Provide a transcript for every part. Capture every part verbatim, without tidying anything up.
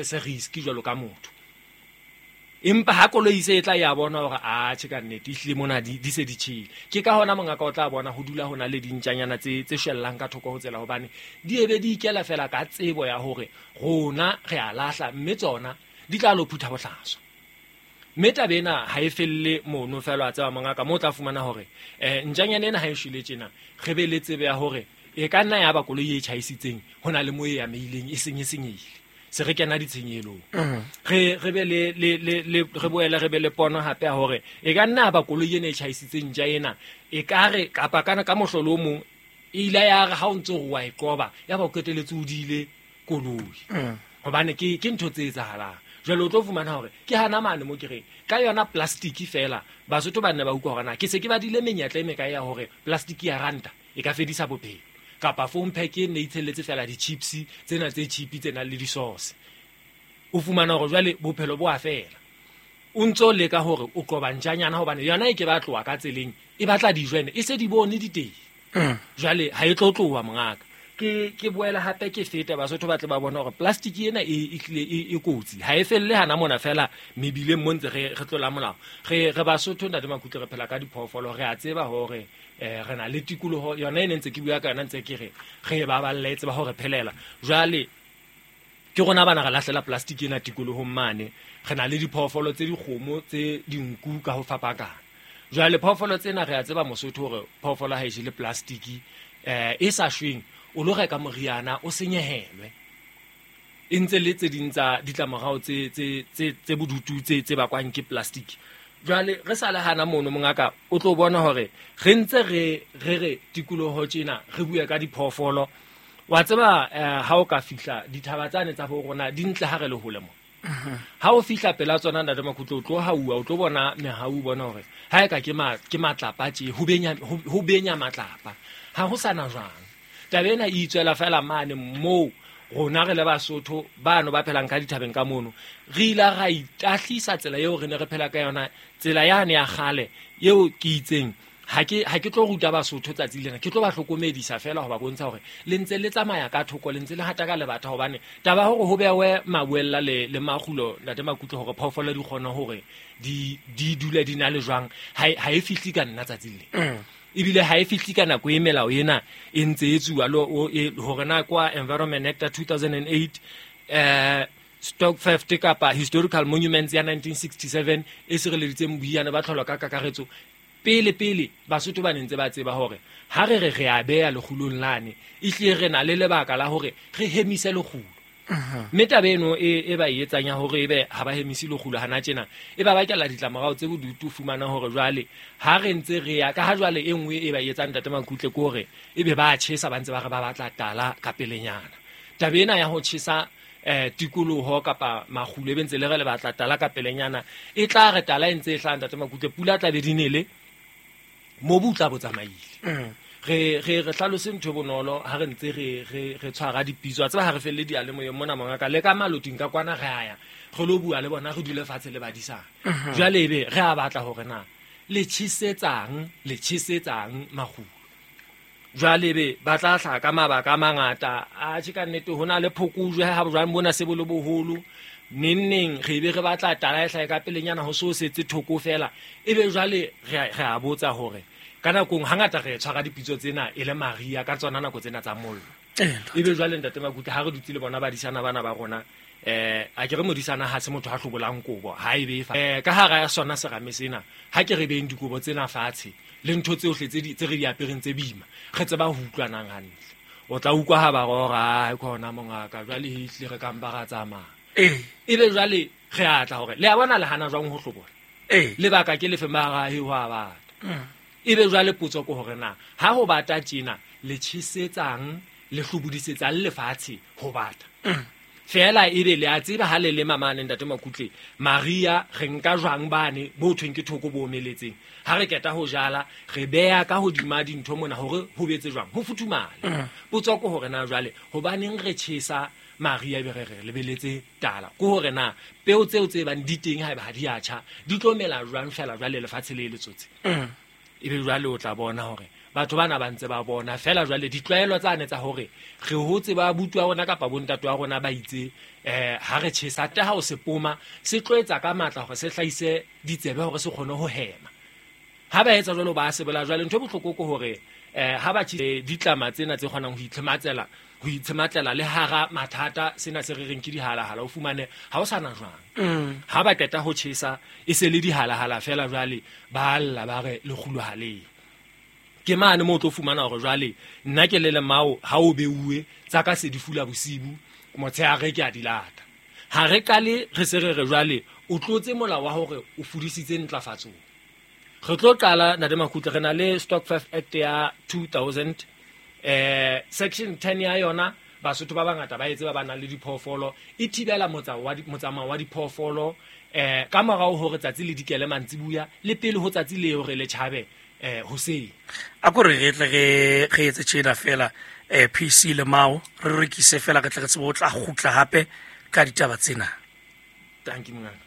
Se risk jwalo ka motho, empa ha koloi se e tla ya bona hore a tjhe, ka nnete ehlile mona di di se di tjhele. Ke ka hona mongaka o tla bona ho dula ho na le dintjanyana tse tse shwellang ka thoko ho tsela, hobane di ebe di ikela fela ka tsebo ya hore rona re a lahla, mme tsona di tla lo phutha bohlaswa. Mme taba ena ha e felle mono fela. A tseba mongaka, mo o tla fumana hore um ntjanyana ena ha e shwele tjena, re be le tsebe ya hore e ka nna ya ba koloi e tjhaisitseng ho na le mo e ameileng, e seng e senyehile, se re kena ditshenyelong. re re be le le le le re boele re be le pono hape ya hore e ka nna ba koloi ena e tjhaisitseng ntja ena, e ka re kapa kana ka mohlolo o mong e ile ya re ha o ntso re wa e qoba, ya ba o qetelletse o diile koloi, hobane ke ke ntho tse etsahalang. Jwale o tlo fumana hore ke hana mane mo ke reng ka yona plastic fela. Basotho ba nne ba utlwa hore na ke se ke badile menyetla e mekae ya hore plastic ya ranta e ka fedisa bophelo, kapa phone pack e ne itshelletse fela di-chips tsena tse cheap tse nang le di-sauce, o fumana hore jwale bophelo bo a fela. O ntso leka hore o qoba ntjanyana, hobane yona e ke ba tloha ka tseleng, e batla dijo, ene e se di bone di teng, jwale ha e tlo tloha. Mongaka, ke ke boela hape ke fete Basotho ba tle ba bona hore plastic ena e e hlile e e kotsi, ha e felle hana mona fela mebileng mo ntse re re tlola molao. re re Basotho, ntate Makutle, re phela ka diphoofolo. Re a tseba hore eh re na le tikoloho yona e ne ntse ke bua ka yona, ntse ke re re e baballe, e tseba hore phelela. Jwale ke rona bana re lahlela plastic ena tikolohong mane. Re na le diphoofolo tse dikgomo, tse dinku, ka ho fapakana. Jwale phoofolo tsena, re a tseba Mosotho hore phoofolo ha e jele plastic eh e sa shweng, o lo reka moriana o senyehelwe, e ntse le tse ding tsa ditlamorao tse tse tse tse bodutu tse tse bakwang ke plastic. Jwale re sa le hana mono, mongaka, o tlo bona hore re ntse re re re tikoloho tjena, re bue ka diphoofolo. Wa tseba, eh, ha o ka fihla dithaba tsane tsa bo rona di ntle ha re le hole mo, ha o fihla pela tsona, ntate Makhutlo, o tlo hauwa, o tlo bona mehau, bona hore ha e ka ke ma ke matlapa tje, ho benya ho ho benya matlapa, ha ho sana jwang. Taba ena e itswela fela mane moo rona re le Basotho bano ba phelang ka dithabeng ka mono, re ile ra itahlisa tsela eo re ne re phela ka yona, tsela yane ya kgale eo ke itseng ha ke ha ke tlo ruta Basotho tsatsi lena, ke tlo ba hlokomedisa fela ho ba bontsha hore le ntse le tsamaya ka thoko, le ntse le hata ka lebata, hobane taba ya hore ho bewe mabuella le le makgulo, ntate Makutlo, hore phoofolo di kgone hore di di dule di na le jwang, ha e ha e fihle ka nna tsatsi le, ebile ha e fihle ka nako e melao ena e ntse e tsuwa lo o- e- hore na kwa Environment Act ya two thousand and eight, eh stock theft kapa Historical Monuments ya nineteen sixty-seven e sireleditseng boiyane ba tlholo ka kakaretso. Pele pele Basotho ba ne ntse ba tseba hore ha re re re a beya lekgulong lane, ehlile re na le lebaka la hore re hemise lekgulo. Mme taba eno e e ba e etsang ya hore ebe ha ba hemise lekgulo hana tjena, e ba bakela ditlamorao tse bodutu. Fumana hore jwale ha re ntse re ya ka ha jwale, e nngwe e ba e etsang, ntate Makutle, ke hore ebe ba tjhesa, ba ntse ba re ba batla tala ka pelenyana. Taba ena ya ho tjhesa eh tikoloho kapa makgulo, ebe ntse le re le batla tala ka pelenyana, e tla re tala e ntse e hlaha, ntate Makutle, pula tla be di nele, mobu o tla bo tsamaile. re re re hlalose ntho e bonolo ha re ntse re re re tshwara dipitso. A tseba ha re felle diyalemoyeng mona, mongaka, le ka maloting ka kwana, re aya re lo bua le bona, re dule fatshe le badisana. Jwale ebe re a batla hore na le tjhesetsang le tjhesetsang makgulo. Jwale ebe ba tla hlaha ka mabaka a mangata. A tjhe, ka nnete ho na le phokojwe ha jwang bona se bo le boholo, neng neng re be re batla tala e hlahe ka pelenyana, ho so setse thoko fela. Ebe jwale re a- re a botsa hore ka nakong hangata re tshwara dipitso tsena e le maria ka tsona nako tsena tsa mollo. Ebe jwale, ntate Makutle, ha re dutse le bona badisana bana ba rona, eh a ke re modisana ha se motho a hlobolang kobo ha e be fa eh ka hara ya sona serame sena, ha ke re beng dikobo tsena fatshe le ntho tsohle tse di tse re di apereng tse boima, re tseba ho utlwanang hantle. O tla utlwa ha ba rora ai khona, mongaka, jwale ehlile re kampa ra tsamaya. Ee. Ebe jwale re a tla hore le a bona le hana jwang ho hlobola, ee lebaka ke lefe? Mara he ho a bata. Ebe jwale potso ke hore na ha ho bata tjena, le tjhesetsang, le hlobodisetsang lefatshe ho bata fela? Ebe le a tseba ha le lema mane, ntate Makutle, maria re nka jwang bane bo thweng ke thoko bo omeletseng, ha re keta ho jala, re beha ka hodima dintho mona hore ho betse jwang, ho futhumale. Potso ke hore na jwale hobaneng re tjhesa maria, ebe re re lebeletse tala? Ke hore na peo tseo tse bang di teng, haeba ha di a tjha, di tlo mela jwang fela jwale lefatshe le letsotsi? Ebe jwale o tla bona hore Batho bana ba ntse ba bona fela jwale ditlwaelo tsane tsa hore re hotse ba abuti wa rona kapa bontate wa rona ba itse eh ha re tjhesa te ha o se poma se tlo etsa ka matla hore se hlahise ditsebe hore se kgone ho hema. Ha ba etsa jwalo ba sebela jwale ntho e bohloko ke hore eh ha ba tjhe ditlama tsena tse kgonang ho itlhematsela ho itshematlela le hara mathata sena se re reng ke dihalahala o fumane ha o sana jwang. Ha ba qeta ho tjhesa e se le dihalahala fela jwale ba lla ba re lekgulo ha le. Ke mane mo tlo fumana hore jwale nna ke le lemao ha o beuwe tsa ka se di fula bosibu motshehare ke a dilata. Ha re qale re se re re jwale o tlotse molao wa hore o fudisitse ntlafatsong. Re tlo qala Ntate Makutle re na le Stock five Act ya two thousand eh section ten ya yona Basotho ba bangata ba etse ba ba nang le diphoofolo e thibela motsamao wa diphoofolo eh ka morao hore tsatsi le dikele mantsibuya le pele ho tsatsi le hore le tjhabe eh hoseng. A ko re re tle re re etse tjena fela eh P C le Mao re rekise fela re tle re tsebe ho tla kgutla hape ka ditaba tsena. Thank you mongaka.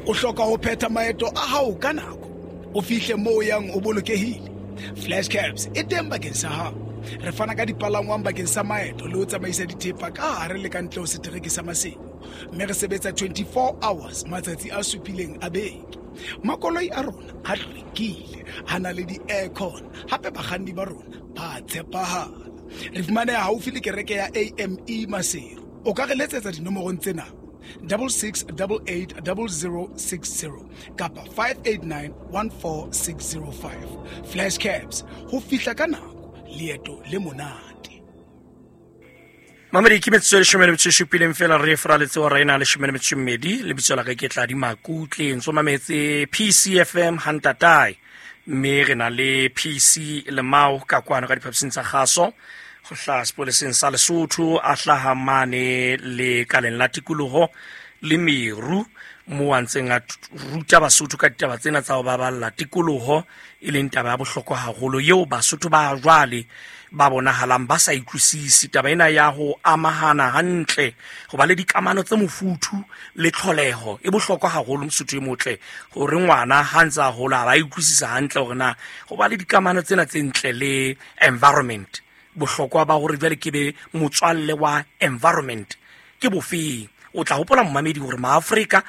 O hloka ho phetha maeto a hao ka nako, o fihle moo yang o bolokehile. Flash Cabs e teng bakeng sa hao. Re fana ka dipalangwang bakeng sa maeto le ho tsamaisa dithepa ka hare le ka ntle ho setereke sa Maseru. Mme re sebetsa twenty-four hours matsatsi a supileng a beke. Makoloi a rona a hlwekile, a na le di-aircon, hape bakganni ba rona ba tshepahala. Re fumaneha haufi le kereke ya A M E Maseru. O ka re letsetsa dinomorong tsena: double six double eight double zero six zero kapa five eight nine one four six zero five. Flash Cabs, ho fihla ka nako, leeto le monate. Mamedi ke metsotso e leshome le metso e supileng fela re fraletse hora ena leshome le metso e mmedi. Lebitso la ka ke Tladi Makutle, ntso mametse P C F M Hantatae, mme re na le P C Lemao ka kwano ka diphapusing tsa kgaso ho hlaha sepoleseng sa Lesotho, a hlaha mane le kaleng la tikoloho le meru mo a ntseng a ruta Basotho ka ditaba tsena tsa ho baballa tikoloho, e leng taba ya bohlokwa haholo eo Basotho ba jwale ba bonahalang ba sa utlwisisi. Taba ena ya ho amahana hantle, ho ba le dikamano tse mofuthu le tlholeho e bohlokwa haholo Mosotho e motle, hore ngwana ha ntse a hola ba utlwisisa hantle hore na ho ba le dikamano tsena tse ntle le environment, bohlokwa ba hore jwale ke be motswalle wa environment ke bofeng. O tla hopola momamedi hore maAfrika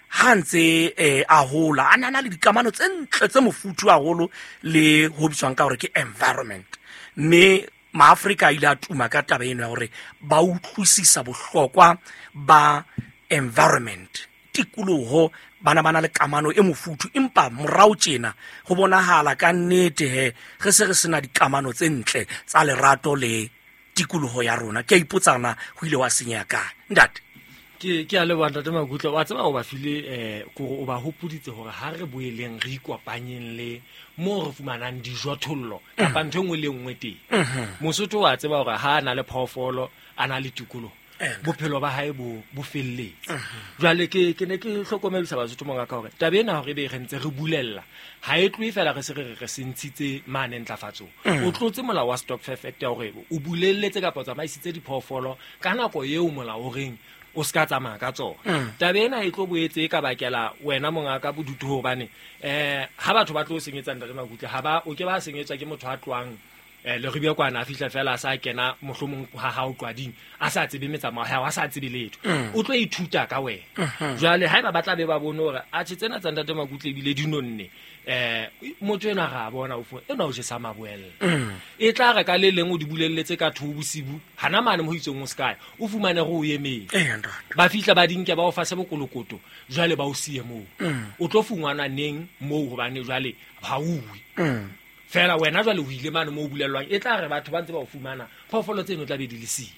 ha ntse eh, a hola a nana le dikamano tse ntle tse mofuthu haholo le ho bitswang ka hore ke environment, mme maAfrika a ile a tuma ka taba eno ya hore ba utlwisisa bohlokwa ba environment, tikoloho, bana ba na le kamano e mofuthu. Empa morao tjena ho bonahala ka nnete he re se re sena dikamano tse ntle tsa lerato le tikoloho ya rona. Ke a ipotsa na ho ile wa senyeha kae ntate? Ke ke a leboha Ntate Makutle. Wa tseba o ba file eh kore o ba hopoditse hore ha re boeleng re ikopanyeng le mo re fumanang dijothollo kapa ntho e nngwe le nngwe teng. Mosotho wa tseba hore ha a na le phoofolo, a na le tikoloho, bophelo ba hae bo bo felletse. Jwale ke ke ne ke hlokomedisa Basotho mongaka hore taba ena hore ebe re ntse re bulella ha e tlohe fela re se re re se ntshitse mane ntlafatsong. O tlotse molao wa Stock Five Act ya hore o bulelletse kapa o tsamaisitse diphoofolo ka nako eo molao o reng o ska tsamaya ka tsona. Taba ena e tlo boetse e ka bakela wena mongaka bodutu hobane eh ha batho ba tlo senyetsa Ntate Makutle ha ba o ke ba senyetswa ke motho a tloang eh le ribia kwana a fihla fela a sa kena mohlomong ha ha o qwading a sa tsebe metsamao ha a sa tsebe letho, o tlo ithuta ka wena. Jwale haeba ba tla be ba bone hore a tjhe tsena tsa Ntate Makutle ebile di nonne eh motho ena ra bona o fo ena o jesa maboella e tla re ka le leng o di bulelletse ka two bosibu hana mane mo itseng o sky o fumane go o emeng ba fihla ba dinke ba o fa se bokolokoto jwale ba o siye moo o tlo fungwana neng moo hobane jwale ha uwe fela wena jwale o ile mane mo o bulellwang e tla re batho ba ntse ba o fumana phoofolo tseno tla be di le siyo.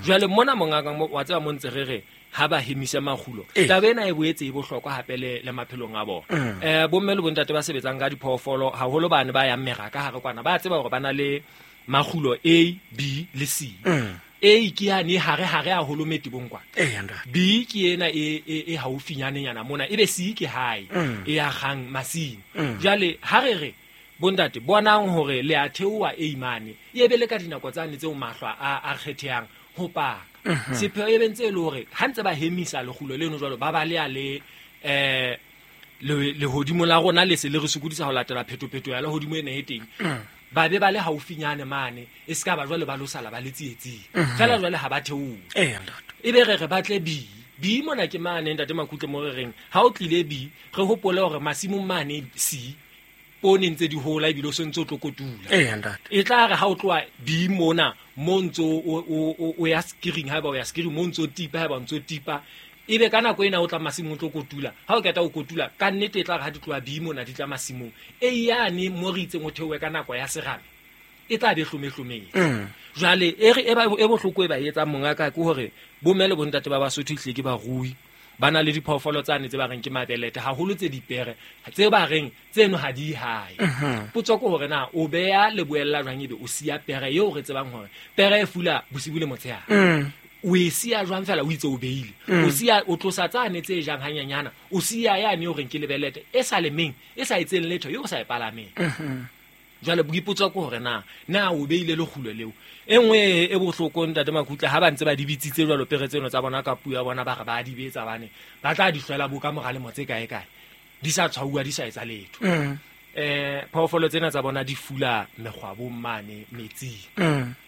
Jwale mona mongaka wa tseba mo ntse re re ha ba hemise makgulo taba ena e boetse e bohlokwa hape le le maphelong a bona. Eh bomme le bontate ba sebetsang ka diphoofolo haholo bane ba yang meraka hare kwana ba tseba hore ba na le makgulo A, B le C. A ke yane hare hare haholo metebong kwana, B ke ena e e haufinyanenyana mona, ebe C ke hae e ya gang masimo. Jwale ha re re bondate bonang hore le a theoha A mane e be le ka dinako tsane tseo mahlwa a a kgethehang ho paka sepheo e bentse e le hore ha ntse ba hemisa lekgulo leno jwalo ba ba le a le eh Lehodimo la rona le se le re sokodisa ho latela phetopheto ya lehodimo ena e teng. Ba be ba le haufinyane mane e ska ba jwale ba lo sala ba le tsietsing. Fela jwale ha ba theoha. Eh ntate. E be re re batle bi. Bi mona ke mane ntate Makutle mo re reng ha o tlile bi re hopole hore masimong mane si poone ntse di hola ebile o sentse o tlo kotula. Eh ntate. E tla re ha o tloha bi mona mo ntso o o ya skiring ha ba o ya skiring mo ntso tipa ha ba ntso tipa ebe ka nako ena o tla masimong tlo kotula. Ha o keta o kotula ka nnete e tla re ha di tloha bi mona di tla masimong e yane mo re itseng o theohe ka nako ya serame e tla be hlomehlometse. Jwale e re e ba e bohloko e ba etsang monga ka ke hore bomme le bontate ba Basotho ehlile ke barui ba na le diphoofolo tsane tse ba reng ke mabelete haholo tse dipere tse ba reng tseno ha di hae. Potso ke hore na o beya leboella jwang ebe o siya pere eo re tsebang hore pere e fula bosibu le motshehare. O e siya jwang fela o itse o beile o siya o tlosa tsane tse jang hanyanyana o siya yane o reng ke lebelete e sa lemeng e sa etseng letho eo o sa e palameng. Jwale boipotso ke hore na na o beile lekgulo leo. E nngwe e bohloko ntate Makutle ha ba ntse ba di bitsitse jwalo pere tseno tsa bona ka puo ya bona ba re ba di betsa bane ba tla di hlwela bo ka mora lemo tse kae kae di sa tshwauwa di sa etsa letho. Eh phoofolo tsena tsa bona di fula mekgwabong mane metsing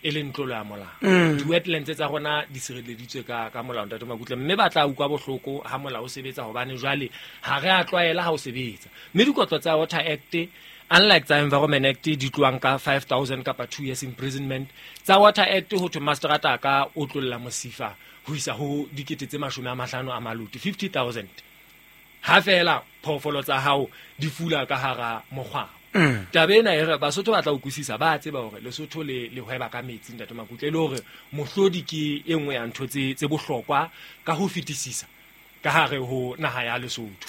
e leng tlolo ya molao. Di-wetlands tsa rona di sireleditswe ka ka molao ntate Makutle mme ba tla utlwa bohloko ha molao o sebetsa hobane jwale ha re a tlwaela ha o sebetsa. Mme dikotlo tsa Water Act unlike tsa Environment Act di tloang ka five thousand kapa two years imprisonment, tsa Water Act ho thwe mastrata ka o tlolla mosifa ho isa ho dikete tse mashome a mahlano a maluti fifty thousand. Ha fela phoofolo tsa hao di fula ka hara mokgwabo. Taba ena e re Basotho ba tla utlwisisa ba tseba hore Lesotho le le hweba ka metsi ntate Makutle e le hore mohlodi ke e nngwe ya ntho tse tse bohlokwa ka ho fetisisa ka hare ho naha ya Lesotho.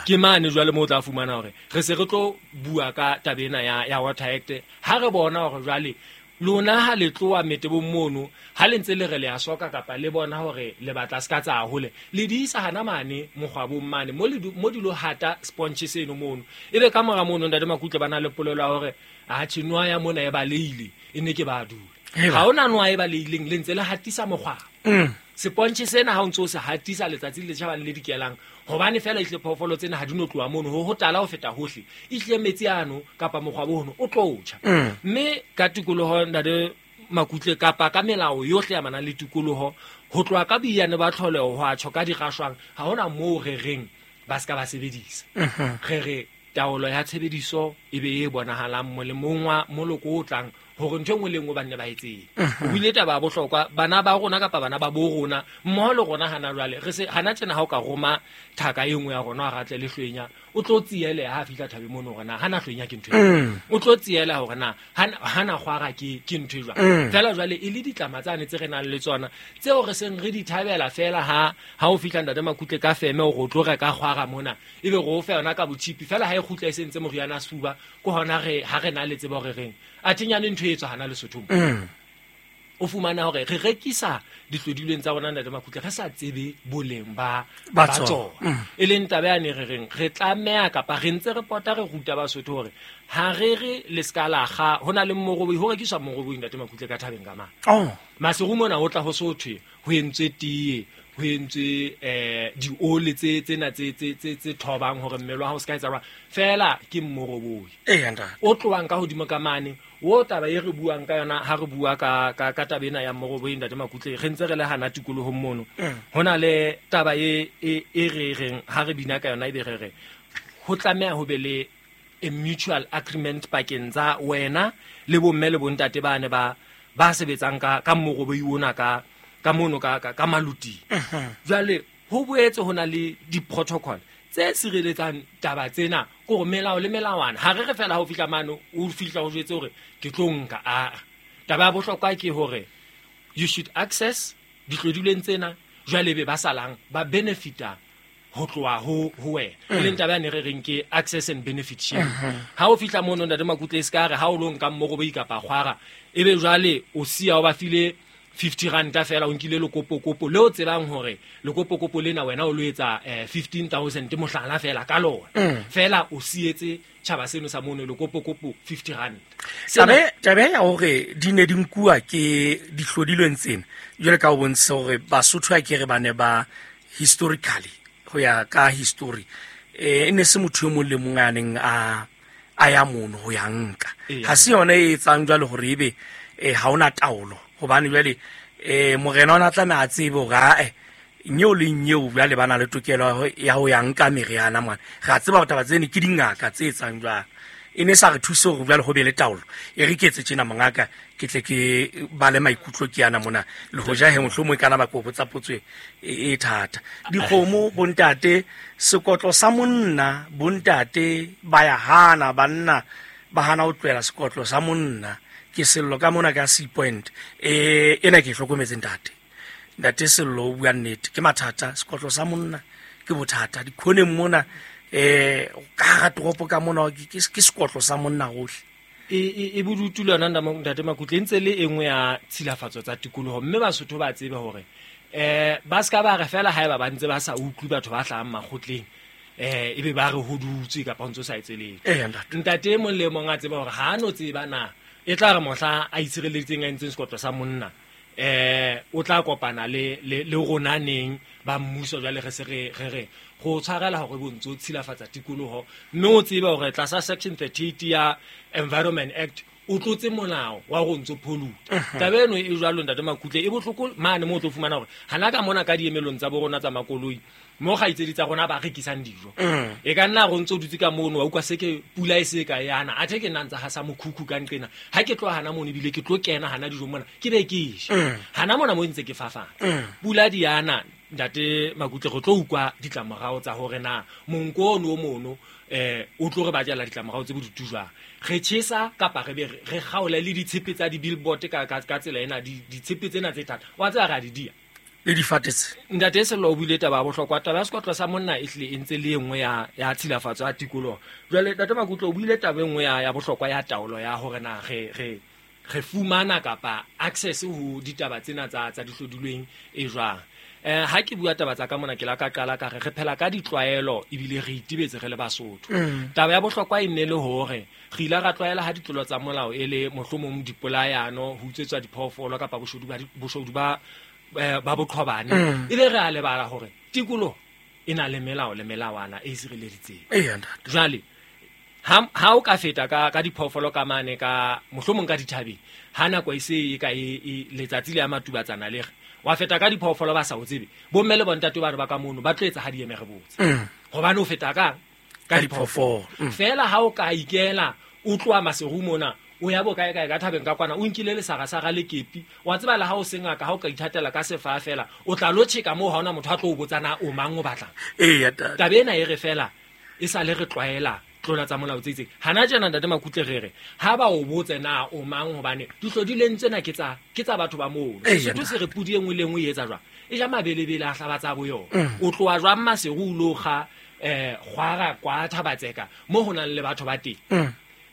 Ke mane jwale mo tla fumana hore re se re tlo bua ka taba ena ya ya Water Act ha re bona hore jwale lona ha le tloa metebong mono ha le ntse le re le a soka kapa le bona hore le batla ska tsa hole le di isa hana mane mokgwabong mane mo le mo di lo hata sponge seno mono ebe ka mora mono ntate Makutle bana le polelo ya hore a tjhe ya mona e baleile e ne ke ba dula ha ona nwa e baleileng le ntse le hatisa mokgwabo. Seponche sena ha o ntso se hatisa letsatsi le tjhabang le dikelang hobane fela ihle phoofolo tsena ha di no tloha mono ho hotala ho feta hohle ihle metsi ano kapa mokgwabo hono o tlo tjha. Mme ka tikoloho ntate Makutle kapa ka melao yohle ya manang le tikoloho ho tloha ka boiyane ba tlholeho ho a tjho ka dirashwang ha hona moo re reng ba ska ba sebedisa. Re re taolo ya tshebediso e be e bonahalang molemong wa moloko o tlang hore ntho e nngwe le nngwe ba nne ba etseng. O buile taba ya bohlokwa bana ba rona kapa bana ba bo rona mmoho le rona hana jwale re se hana tjena ha o ka roma thaka e nngwe ya rona a ratle le hlwenya o tlo tsiele ha fihla thabe mono hore na hana hlwenya ke ntho e o tlo tsiela hore na hana kgwara ke ke ntho e jwang. Fela jwale e le ditlama tsane tse re nang le tsona tseo re seng re di thabela fela ha ha o fihla ntate Makutle ka feme hore o tlo reka kgwara mona ebe re o fe yona ka botshipi fela ha e kgutla e sentse moriana a sefuba ke hona re ha re na le tsebo re reng a thinyane ntho e tswa hana Lesotho. O fumana hore re rekisa dihlodilweng tsa rona ntate Makutle re sa tsebe boleng ba ba tsona. E leng taba ya ne re reng re tlameha kapa re ntse re pota re ruta Basotho hore ha re re le ska la kga hona le moroboi ho rekiswa moroboi ntate Makutle ka thabeng ka mang. Oh Maseru mona ho tla ho sothwe ho entswe tee ho entswe eh diole tse tsena tse tse tse tse thobang hore mmele wa hao se ka etsa jwang fela ke moroboi. Eh ntate o tlohang ka hodimo ka mane o taba e re buang ka yona ha re bua ka ka ka taba ena ya moroboi ntate Makutle re ntse re le hana tikolohong mono hona le taba e e e re reng ha re bina ka yona ebe re re ho tlameha ho be le a mutual agreement pakeng tsa wena le bomme le bontate ba ne ba ba sebetsang ka ka moroboi ona ka ka mono ka ka maluti. Jwale ho boetse hona le di-protocol tse sireletsang taba tsena ke hore melao le melawana ha re re fela ha o fihla mane o fihla o jwetse hore ke tlo nka a taba ya bohlokwa ke hore you should access dihlodilweng tsena jwale be ba salang ba benefita ho tloha ho ho wena e leng taba ya ne re reng ke access and benefit sharing. Ha o fihla mono ntate Makutle e ska re ha o lo nka moroboi kapa kgwara ebe jwale o siya o ba file fifty ranta fela o nkile lokopokopo le o tsebang hore lokopokopo lena wena o lo etsa fifteen thousand mohlala fela ka lona fela o sietse tjhaba seno sa mono lokopokopo fifty rand. Tabe tabe ya hore di ne di nkuwa ke dihlodilweng tsena jwale ka o bontsha hore Basotho a ke re ba ne ba historically ho ya ka history eh e ne se motho e mong le mong a neng a a ya mono ho ya nka. Ha se yona e etsang jwale hore ebe eh ha ona taolo, hobane jwale eh morena ona tlameha a tsebe hore ae nyeo le nyeo jwale ba na le tokelo ya ho ya nka meriana mwana. Re a tseba taba tsene ke dingaka tse etsang jwale. E ne sa re thuse hore jwale ho be le taolo. E re ke etse tjena mongaka, ke tle ke ba le maikutlo ke yana mona. Le hoja he mohlomong e kana ba kopo tsa potso e e thata. Dikgomo bontate, sekotlo sa monna bontate ba ya hana, banna ba hana ho tlohela sekotlo sa monna. Ke sello ka mona ka C point. Eh ena ke hlokometse ntate. Ntate Sello o bua nnete, ke mathata sekotlo sa monna ke bothata. Dikhoneng mona eh ka hara toropo ka mona ke ke sekotlo sa monna hohle. E e bodutu le yona ntate Makutle e ntse le e nngwe ya tshilafatso tsa tikoloho, mme Basotho ba tsebe hore eh ba ska ba re fela haeba ba ntse ba sa utlwe batho ba hlahang makgotleng eh ebe ba re hodutse kapa ntse sa etse letho. Ntate e mong le mong a tseba hore ha no tseba na e tla re mohla a itshireleditseng a entseng sekotlo sa monna eh o tla kopana le le rona neng ba mmuso jwale re se re re re go tshwarela hore bontso tshilafatsa tikoloho, mme o tsebe hore tlasa section thirty-eight ya Environment Act o tlotse molao wa go ntso pollute. Taba eno e jwalo ntate Makutle e bohloko mane mo o tlo fumana hore hana ka mona ka diemelong tsa bo rona tsa makoloi mo gaitsedi tsa rona ba rekisang dijo. E ka nna go ntso dutse ka mono wa utlwa se ke pula e se ka yana athe ke nna ntsa hasa mokhukhu ka nqena ha ke tloha hana mono ebile ke tlo kena hana dijo mona ke be ke je hana mona mo ntse ke fafatsa pula di yana ntate Makutle go tlo utlwa ditlamorao tsa hore na monko ono o mono eh o tlo re batlela ditlamorao tse bodutu jwang. Re tjhesa kapa re be re kgaole le ditshepe tsa di-billboard ka ka tsela ena ditshepe tsena tse thata wa tseba ra di dia le difatetse. Ntate Sello o buile taba ya bohlokwa, taba ya sekotlo sa monna e hlile e ntse le e nngwe ya ya tshilafatso ya tikoloho. Jwale ntate Makutle o buile taba e nngwe ya ya bohlokwa ya taolo ya hore na re re re fumana kapa access ho ditaba tsena tsa tsa dihlodilweng e jwang. Eh ha ke bua taba tsa ka mona ke la ka qala ka re re phela ka ditlwaelo ebile re itibetse re le Basotho. Taba ya bohlokwa e nne le hore re ile ra tlwaela ha ditlolo tsa molao e le mohlomong dipolayano ho utswetswa diphoofolo kapa boshodu ba boshodu ba ba boqhobane e le re a lebala hore tikoloho e na le melao le melawana e sireleditseng. Jwale ha ha o ka feta ka ka diphoofolo ka mane ka mohlomong ka dithabeng ha nako e se e ka e letsatsi le ya matubatsana le re wa feta ka diphoofolo ba sa o tsebe bomme le bontate ba re ba ka mono ba tlo etsa ha di eme re botse hobane o feta ka ka diphoofolo fela. Ha o ka ikela o tloha Maseru mona o ya bo kae kae ka thabeng ka kwana o nkile le sarasara le kepi wa tseba le ha o sengaka ha o ka ithatela ka sefa fela o tla lo tjheka moo ha ona motho a tlo o botsana o mang o batlang. Ee taba ena e re fela e sa le re tlwaela tlola tsa molao tse itseng hana tjena ntate Makutle re re ha ba o botse na o mang hobane dihlodileng tsena ke tsa ke tsa batho ba mono. Sesotho se re pudi e nngwe le nngwe e etsa jwang e ja mabelebele a hlaba tsa bo yona. O tloha jwang Maseru o lo kga eh kgwara kwa Thabatseka mo ho nang le batho ba teng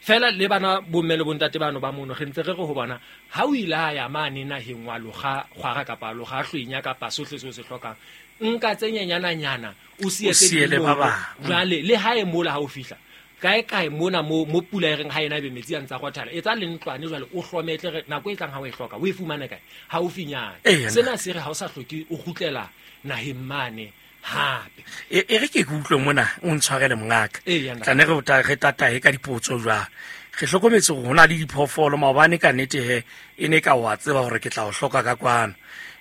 fela le bana bomme le bontate bano ba mono re ntse re re ho bona ha o ile a ya mane naheng wa loga kgwara kapa loga hlwenya kapa sohle seo se hlokang nka tse nyenyana o sietse le ba bang jwale le ha e mola ha o fihla kae kae mona mo mo pula e reng ha ena be metsi a ntsa rothala etsa le ntlwane jwale o hlometle re nako e tlang ha o e hloka o e fumane kae ha o finyana. Sena se re ha o sa hloke o kgutlela naheng mane hape. E re ke utlwe mona o ntshwarele mongaka tla ne re ta re tatahe ka dipotso jwang. Re hlokometse hore hona le diphoofolo maobane ka nnete he e ne ka wa tseba hore ke tla o hloka ka kwano.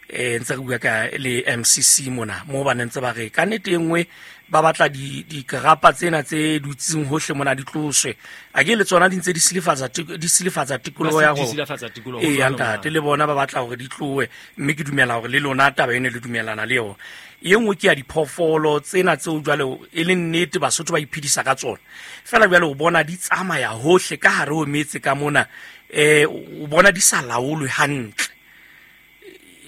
Eh ntse re bua ka le M C C mona mo ba ntse ba re ka nnete e nngwe ba batla di dikrapa tsena tse dutseng hohle mona di tloswe a ke le tsona di ntse di silafatsa di silafatsa tikoloho ya go silafatsa tikoloho e ntate le bona ba batla hore di tlowe mme ke dumela hore le lona taba ene le dumelana le yona. E nngwe ke ya diphoofolo tsena tseo jwale e le nnete Basotho ba iphedisa ka tsona fela jwale o bona di tsamaya hohle ka hare ho metse ka mona eh o bona di sa laolwe hantle.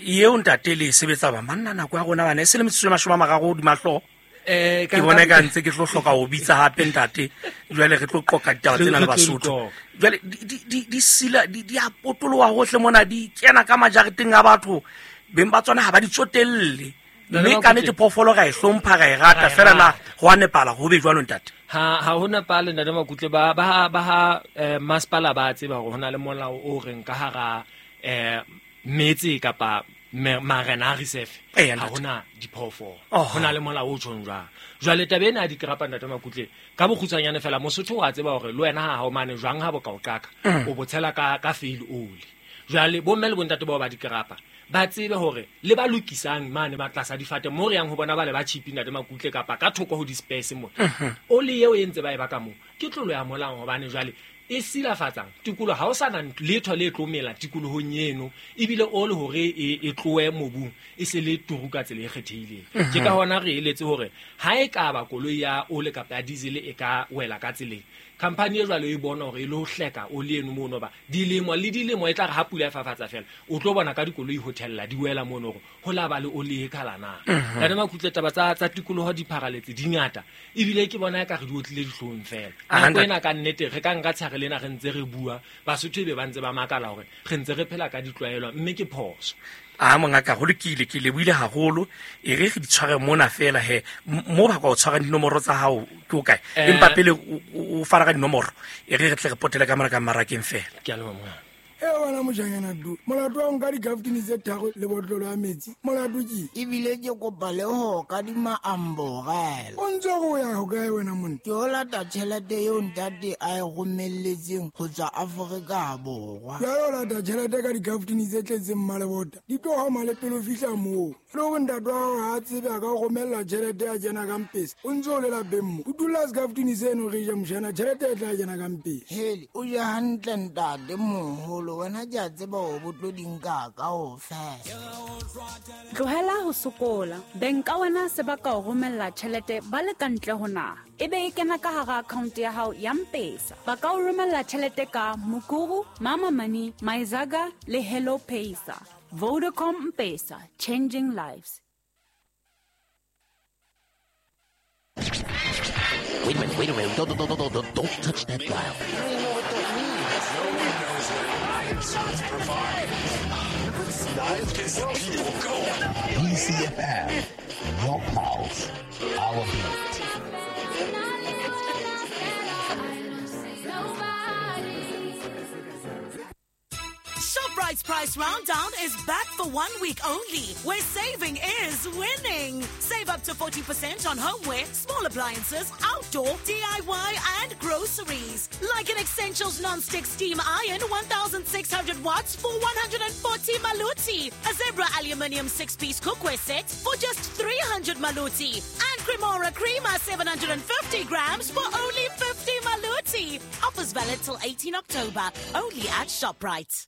Eo ntate le sebetsa ba manna nako ya rona bana e se le metsotso e mashome a mararo hodima hlooho. Eh ke bona ka ntse ke tlo hloka ho bitsa hape ntate jwale re tlo qoqa ditaba tsena le Basotho jwale di di di sila di di a potoloha hohle mona di kena ka majareteng a batho beng ba tsona ha ba di tsotelle mme ka nnete phoofolo ra e hlompha ra e rata fela na ho a nepala ho be jwalo ntate. Ha ha ho nepale ntate Makutle ba ba ba ha masepala ba tseba hore hona le molao o reng ka hara eh metse kapa Marena a reserve ha hona diphoofolo ho na le molao o tjhong jwang. Jwale taba ena ya dikrapa ntate Makutle ka bokgutshwanyane fela Mosotho wa tseba hore le wena ha hao mane jwang ha bo ka o qaka o botshela ka ka fail oli. Jwale bo mme le bontate bao ba dikrapa ba tsebe hore le ba lokisang mane ba tlasa difate mo re yang ho bona ba le ba chipi ntate Makutle kapa ka thoko ho di-space mo oli eo e ntse ba e baka mo ke tlolo ya molao hobane jwale e silafatsang tikoloho ha o sana letho le tlomela tikolohong eno ebile o le hore e tloe mobung e se le turu ka tsela e kgethehileng. Ke ka hona re eletse hore ha e ka ba koloi ya ole kapa ya diesel e ka wela ka tseleng company e jwalo e bona hore e lo hleka oli eno mono ba dilemo le dilemo e tla re ha pula e fafatsa fela o tlo bona ka dikoloi hotella di wela mono hore ho la ba le oli e khala na. Ntate Makutle taba tsa tsa tikoloho di pharaletse di ngata ebile ke bona e ka re di otlile dihlong fela nako ena ka nnete re ka nka tshare lena re ntse re bua Basotho be ba ntse ba makala hore re ntse re phela ka ditlwaelo mme ke phoso. A mongaka go lokile ke lebohile haholo e re re di tshware mona fela he mo ba ka o tshwara dinomoro tsa hao ke o kae empa pele o fara ka dinomoro e re re tle re potele ka mara ka marakeng fela. Ke a leboha mongaka. E wena mojanyana du molato wa nka dikaftini tse tharo le botlolo ya metsi molato ke ebile ke kopa le ho kadima amborela. O ntse go ya ho kae wena monna? Ke o lata tjhelete eo ntate a e romelletseng ho tswa Afrika Borwa. Jwale o lata tjhelete ka dikaftini tse tletseng mmalebota di tlo hama le pele o fihla moo. Le hore ntate wa hao ha a tsebe a ka o romella tjhelete ya kena ka mpesa o ntse o le lapeng mo o dula sekaftini seno re ja mojana tjhelete e tla kena ka mpesa. Hele o ja hantle ntate moholo wena ke a tseba hore bo tlo di nka kaofela. Tlohela ho sokola beng ka wena se ba ka o romella tjhelete ba le ka ntle ho naha ebe e kena ka hara account ya hao ya M-Pesa. Ba ka o romella tjhelete ka Mukuru, Mama Money, Maizaga le Hello Pesa. Vodacom M-Pesa, changing lives. Wait a minute, wait a minute. Don't, don't, don't, don't, don't touch that dial. P C F M, your pulse, our beat. ShopRite's Price Rounddown is back for one week only, where saving is winning. Save up to forty percent on homeware, small appliances, outdoor, D I Y, and groceries. Like an Essentials non-stick steam iron, one thousand six hundred watts for one hundred forty maluti. A Zebra aluminium six-piece cookware set for just three hundred maluti. And Cremora Creamer seven hundred fifty grams for only fifty maluti. Offers valid till eighteenth October, only at ShopRite.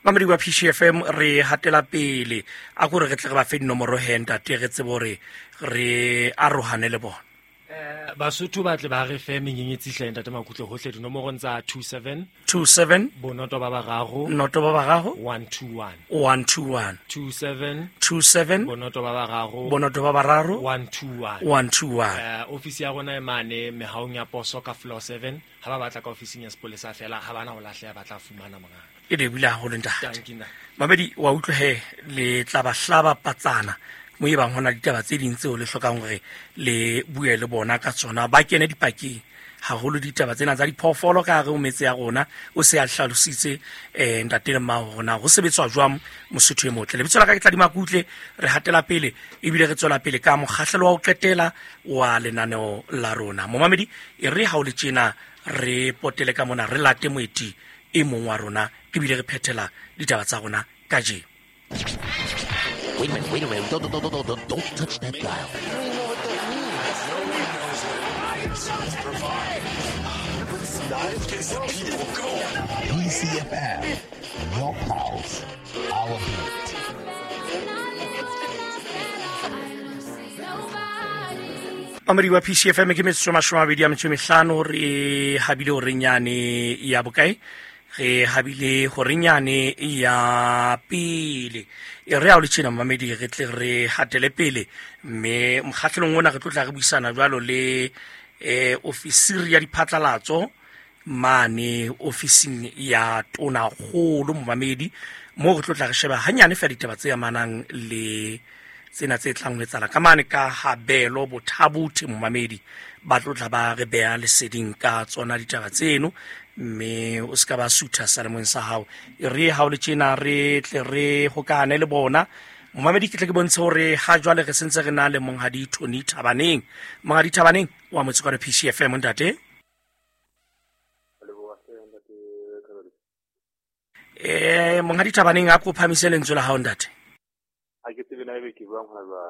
Mamedi wa P C F M re hatela pele a gore re tle re ba fe dinomoro he ntate re tsebe hore re arohane le bona. Eh Basotho ba tle ba re fe menyenyetsi hle ntate Makutle hohle dinomorong tsa two seven two seven bonoto ba bararo noto ba bararo one two one one two one two seven two seven bonoto ba bararo bonoto ba bararo one two one one two one. Eh ofisi ya rona e mane mehaong ya poso ka floor seven ha ba batla ka ofising ya sepolesa fela ha bana ho lahleha ba tla fumana mongaka. E lebile haholo ntate. Mamedi wa utlwe he le tla ba hlaba patsana mo e bang hona ditaba tse ding tseo le hlokang hore le bue le bona ka tsona ba kene dipakeng haholo ditaba tsena tsa diphoofolo ka hare ho metse ya rona o se a hlalositse eh ntate le mmao rona ho sebetswa jwang Mosotho e motle. Lebitso la ka ke Tladi Makutle re hatela pele ebile re tswela pele ka mokgahlelo wa ho qetela wa lenaneo la rona. Momamedi e re ha o le tjena re potele ka mona re late moeti e mong wa rona ebile re phethela ditaba tsa rona kajeno. Wait a minute, wait a minute. Don't, don't, don't, don't, don't touch that dial. P C F M, your pulse, our beat. Mamedi wa P C F M ke metsotso mashome a mabedi a metso e mehlano re habile horeng yane ya bokae re habile horeng yane ya pele e re a o le tjena mamedi re tle re hatele pele mme mokgahlelong ona re tlo tla re buisana jwalo le eh ofisiri ya diphatlalatso mane ofising ya Tonakgolo momamedi mo re tlo tla re sheba hanyane fela ditaba tse amanang le tsena tse tlang ho etsala ka mane ka Habelo Bothabuthe momamedi ba tlo tla ba re beha leseding ka tsona ditaba tseno mme o ska ba sutha salemong sa hao e re ha o le tjena re tle re hokane le bona Momamedi, ke tle ke bontshe hore ha jwale re sentse re na le monghadi Tony Thabaneng. Monghadi Thabaneng wa motse kwa P C F M, ntate. Eh, monghadi Thabaneng, a ko phamise lentswe la hao, ntate. Ha ke tsebe na ebe ke buang hona jwang.